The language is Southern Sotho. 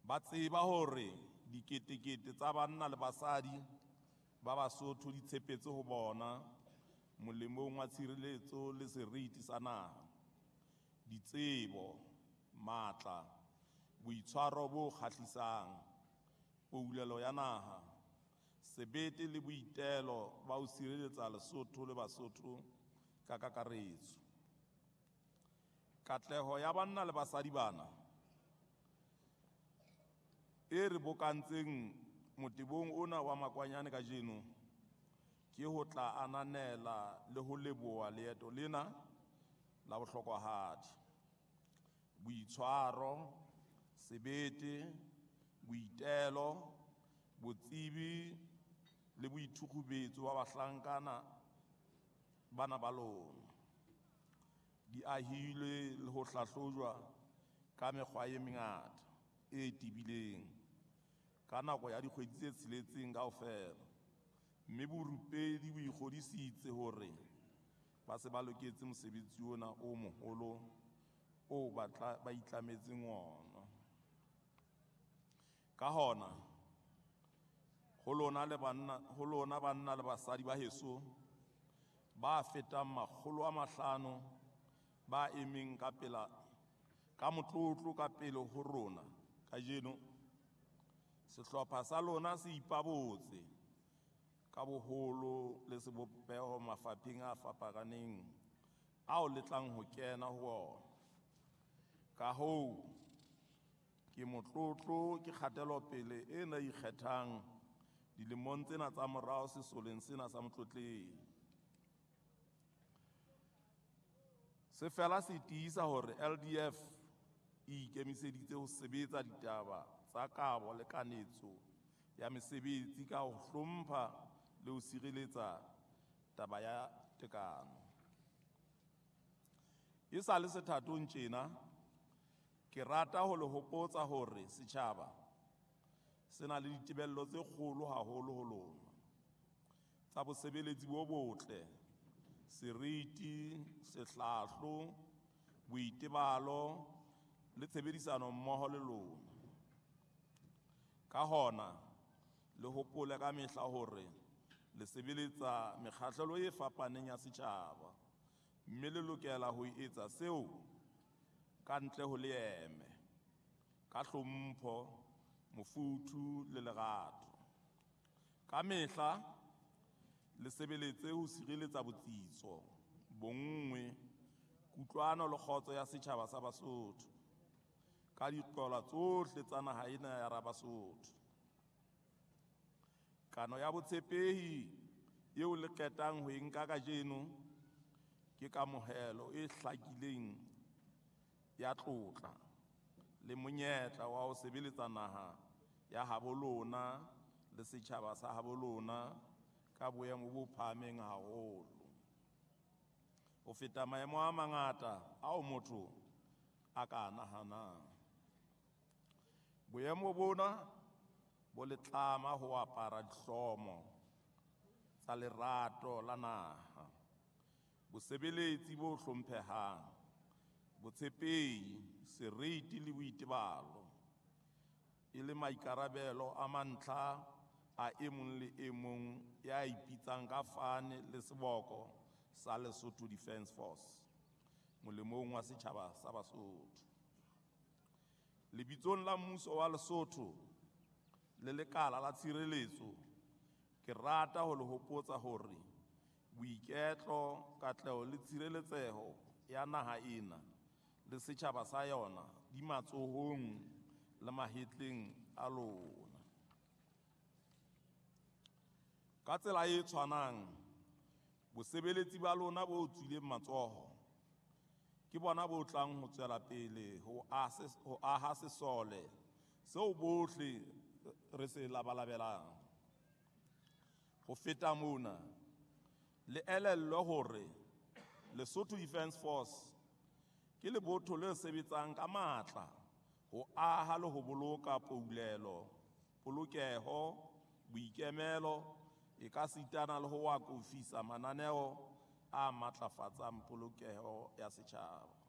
Ba tseba hore diketekete tsa banna le basadi ba Basotho di tshepetse ho bona molemong wa tshireletso le seriti sa naha, ditsebo, matla, boitshwaro bo kgahlisang, poulelo ya naha, sebete le boitelo ba ho sireletsa Lesotho le Basotho ka kakaretso. Katleho ya banna le basadi bana e re bokantseng motebong ona wa Makwanyane kajeno ke ho tla ananela le ho leboha leeto lena la bohlokwahadi. Boitshwaro, sebete, boitelo, botsebi le boithukgubetso ba bahlankana bana ba lona di ahilwe le ho hlahlojwa ka mekgwa e mengata e tebileng ka nako ya dikgwedi tse tsheletseng kaofela, mme borupedi bo ikgodisitse hore ba se ba loketse mosebetsi ona o moholo oo ba itlametseng wona. Ka hona, ho lona banna le basadi ba heso ba fetang 500 ba emeng ka pela ka motlotlo ka pele ho rona kajeno, sehlopha sa lona se ipabotse ka boholo le sebopeho mafapheng a fapaneng ao le tlang ho kena ho ona. Ka hoo, ke motlotlo ke kgatelopele ena e ikgethang dilemong tsena tsa morao sesoleng sena sa Motlotleng. Se fela se tiisa hore LDF e ikemiseditse ho sebetsa ditaba tsa kabo le kanetso ya mesebetsi ka ho hlompha le ho sireletsa taba ya tekano. E sa le sethatong tjena, ke rata ho le hopotsa hore setjhaba se na le ditebello tse kgolo haholo ho lona tsa bosebeletsi bo botle, seriti, sehlahlo, boitebalo le tshebedisano mmoho le lona. Ka hona, le hopole ka mehla hore le sebeletsa mekgahlelo e fapaneng ya setjhaba, mme le lokela ho etsa seo ka ntle ho leeme, ka hlompho, mofuthu le lerato. Ka mehla le sebeletse ho sireletsa botsitso, bonngwe, kutlwano le kgotso ya setjhaba sa Basotho ka diqolwa tsohle tsa naha ena ya Rabasotho. Kano ya botshepehi eo le qetang ho e nka kajeno ke kamohelo e hlakileng ya tlotla le monyetla wa ho sebeletsa naha ya habo lona le setjhaba sa habo lona ka boemo bo phahameng haholo ho feta maemo a mangata ao motho a ka nahanang. Boemo bona bo le tlama ho apara dihlomo tsa lerato la naha, bosebeletsi bo hlomphehang, botshepehi, seriti le boitebalo, e le maikarabelo a mantlha a e mong le e mong ya ipitsang ka fane le seboko sa Lesotho Defence Force molemong wa setjhaba sa Basotho. Lebitsong la mmuso wa Lesotho le lekala la tshireletso, ke rata ho le hopotsa hore boiketlo, katleho le tshireletseho ya naha ena le setjhaba sa yona di matsohong le mahetleng a lona. Ka tsela e tshwanang, bosebeletsi ba lona bo tswileng matsoho ke bona bo tlang ho tswela pele ho aha sesole seo bohle re se labalabelang. Ho feta mona, le elellwe hore Lesotho Defence Force ke lebotho le sebetsang ka matla ho aha le ho boloka poulelo, polokeho, boikemelo, e ka sitana le ho akofisa mananeo a matlafatsang polokeho ya setjhaba.